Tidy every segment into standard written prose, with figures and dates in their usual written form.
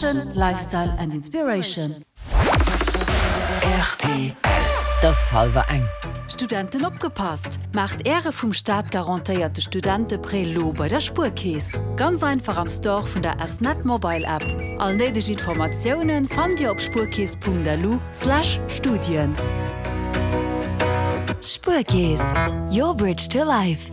Fashion, Lifestyle and Inspiration. Rtl. 't ass hallwer eng. Studenten opgepasst! Maacht Äre vum Staat garantéierte Studenteprêt lo bei der Spuerkeess. Ganz einfach am Store vun der S-Net Mobile App. All néideg Informatiounen fannt Dir op spuerkeess.lu/studien. Spuerkeess, your bridge to life.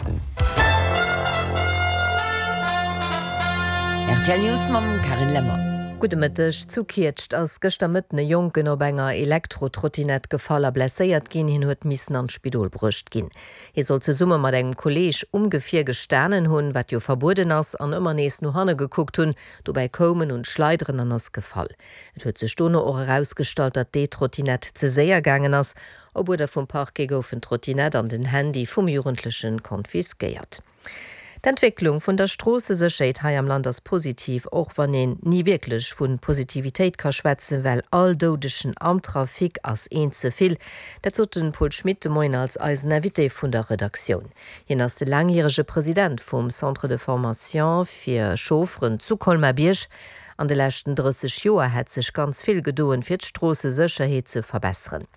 Rtl News mam Carine Lemmer. Gudde Mëtteg. Zu Kietscht ass gëschter Mëtten e Jonken op enger Elektro-Trottinett gefall a blesséiert ginn. Hien huet missen an d'Spidol bruecht ginn. Hie soll zesumme mat engem Kolleeg um Gefier gestanen hunn, wat jo verbueden ass, an ëmmer nees no hanne gekuckt hunn. Dobäi koum en un d'Schleideren an ass gefall. Et huet sech dono och erausgestallt, datt d'E-Trottinett ze séier gaangen ass. Op Uerder vum Parquet goufen d'Trottinett an den Handy vum Jugendlechen konfiskéiert. D'Entwécklung vun der Stroossesécherheet hei am Land ass positiv, och wann een ni wierklech vu Positivitéit ka schwätzen, well all Doudegen am Trafic ass een ze vill. Dat sot de Paul Schmit de Moien als eisen Invité vun der Redaktioun. Hien ass de laangjärege President vum Centre de formation fir Chaufferen zu Colmar-Bierg. An de leschten 30 Joer hätt sech ganz vill gedoen, fir d'Stroossesécherheet ze verbesseren.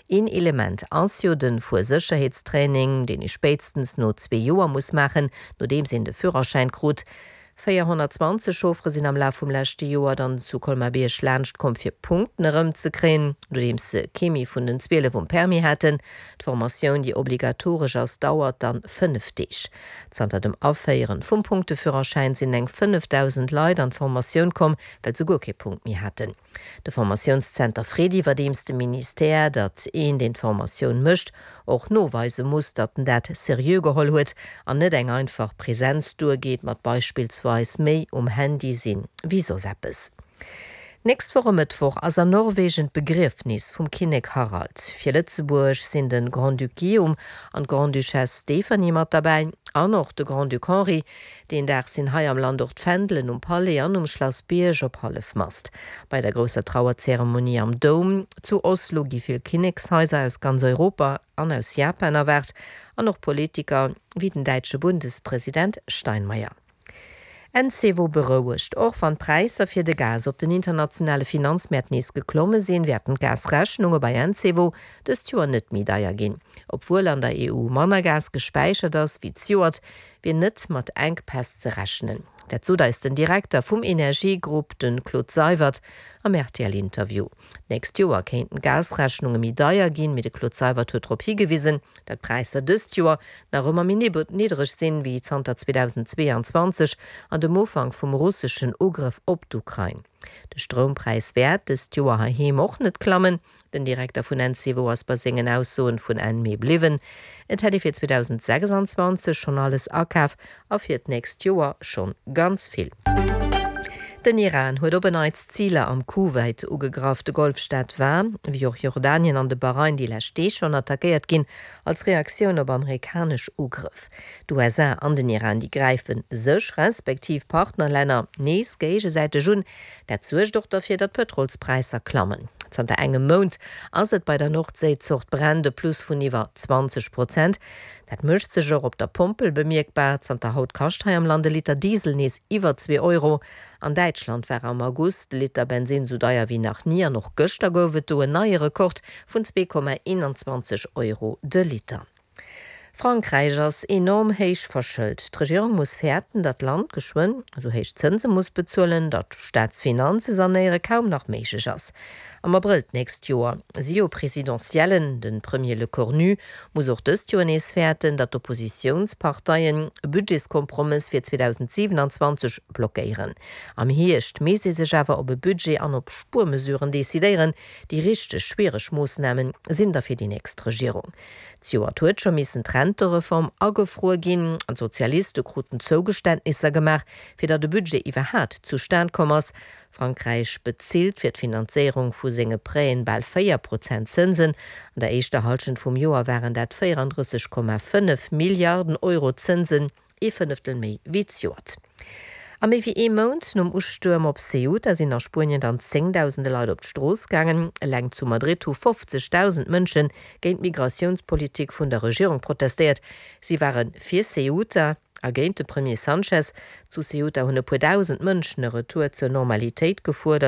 Een Element ass jo de Fuersécherheetstraining, deen ee spéitstens no zwee Joer muss maachen, nodeems een de Führerschäin krut. 420 Chauffere sinn am Laf vum leschte Joer dann zu Colmar-Bierg laanscht komm fir Punkten erëmzekréien, nodeems se kee méi vun den 12 um Permis haten. D'Formatioun, déi obligatoresch ass, dauert dann 5 Deeg. Zanter dem Aféieren vum Punkteführerschäin sinn eng 5.000 Leit an d'Formatioun komm, well se guer kee Punkt méi haten. De Formatiounszenter freet iwwerdeems de Ministère, datt een, deen d'Formatioun mécht, och noweise muss, datt en dat seriö geholl huet an net eng einfach Presenz duergeet mat beispillsweis méi um Handy sinn wéi soss eppes. D'nächst Woch e Mëttwoch ass an Norwegen d'Begriefnis vum Kinnek Harald. Fir Lëtzebuerg sinn de Grand-Duc Guillaume an d'Grande-Duchesse Stéphanie mat derbäi an och de Grand-Duc Henri. Deen Dag sinn hei am Land och d'Fändelen um Palais an um Schlass Bierg op Hallefmast. Bei der grousser Trauerzeremonie am Doum zu Oslo gi vill Kinnekshaiser aus ganz Europa an aus Japan erwaart an och Politiker wéi den däitsche Bundespresident Steinmeier. Encevo berouegt, Och wann d'Präisser fir de Gas op den internationale Finanzmäert nees geklomme sinn, wäerten d'Gasrechnunge bei Encevo dëst Joer net méi deier ginn. Obwuel an der EU manner Gas gespäichert ass wéi zejoert, wier net mat Enkpäss ze rechnen. Dat sot eis den Direkter vum Energiegrupp, de Claude Seywert, am RTL-Interview. D'nächst Joer kéinten d'Gasrechnunge méi deier ginn, mee de Claude Seywert huet drop higewisen, datt d'Präisser dëst Joer nach ëmmer méi niddereg sinn, wéi zanter 2022 an dem Ufank vum russeschen Ugrëff op d'Ukrain. De Stroumpräis wäert dëst Joer heiheem och net klammen. Den Direkter vun Encevo ass bei sengen Aussoen vun Enn Mee bliwwen. Et hätt ee fir 2026 schonn alles akaf a fir d'nächst Joer schonn ganz vill. Den Iran huet op en Neits Ziler am Kuwait ugegraff. De Golfstaat war, wéi och Jordanien an de Bahrain déi lescht Deeg schonn, attackéiert ginn als Reaktioun op amerikanesch Ugrëff. D'USA an den Iran, déi gräife sech, respektiv Partnerlänner, nees géigesäiteg un. Dat suergt och derfir, datt d'Pëtrolspräisser klammen. Zanter engem Mount ass et bei der Nordséizort Brent e Plus vun iwwer 20 Prozent. Dat mécht sech och op der Pompel bemierkbar. Zanter haut kascht hei am Land e Liter Diesel nees iwwer zwee Euro. An Däitschland war am August de Liter Bensinn sou deier wéi nach ni an och gëschter gouf et do en neie Rekord vun 2,21 Euro de Liter. Frankräich ass enorm héich verschëlt. D'Regierung muss fäerten, datt d'Land geschwënn esou héich Zënse muss bezuelen, datt Staatsfinanze sanéiere kaum nach méiglech ass. Am Abrëll d'nächst Joer si jo Presidentiellen. De Premier Lecornu muss och dëst Joer nees fäerten, datt d'Oppositiounsparteien e Budgetskompromëss fir 2027 blockéieren. Am Hierscht misst ee sech awer op e Budget an op Spuermesuren decidéieren. Déi richteg schwiereg Moossname sinn da fir déi nächst Regierung. Zejoert huet scho missen d'Rentereform agefruer ginn an d'Sozialiste kruten Zougeständnisser gemaach, fir datt e Budget iwwerhaat zustan komm ass. Frankräich bezilt fir d'Finanzéierung vu senge Prêten bal 4 Prozent Zënsen. An der éischter Hallschent vum Joer waren dat 34,5 Milliarden Euro Zënsen. Ee Fënneftel méi wéi zejoert. A méi wéi ee Mount nom Ustuerm op Ceuta sinn a Spuenien dann zéngdausende Leit op d'Strooss gaangen. Eleng zu Madrid hu 50.000 Mënsche géint d'Migratiounspolitik vun der Regierung protestéiert. Si ware fir Ceuta a géint de Premier Sanchez. Zu Ceuta hunn e puer dausend Mënschen e Retour zur Normalitéit gefuerdert.